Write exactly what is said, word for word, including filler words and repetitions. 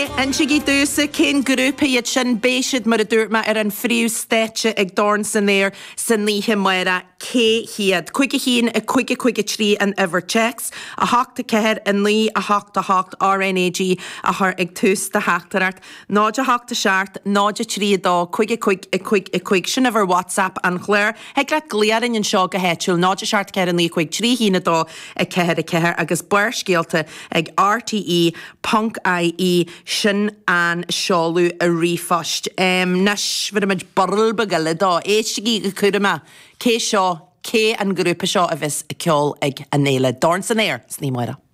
Insígí domhsa cén grúpa iad sin beidh siad mar a dúirt mé ar an phríomhstáitse ag Dorn san Aer san oíche amárach cé hiad. Cúig a haon a cúig a cúig a trí an uimhir téacs, a hocht a ceathair a naoi a hocht a hocht RNAG a chur ag tús do theachtaireacht. Náid a hocht a seacht, náid a trí a dó, cúig a cúig a cúig a cúig sin uimhir WhatsApp an chláir. Thig leat glaoch orainn anseo go háitiúil, náid a seacht ceathair a naoi cúig trí haon a dó a ceathair a ceathair agus Barrscéalta ag RTE ponc IE sin an seoladh ríomhphoist. Um, Anois bhfuil burl beag dó éistigí go cúramach cé seo cé an grúpa seo a bheas ag ceol ag an fhéile Dorn san Aer san oíche amárach.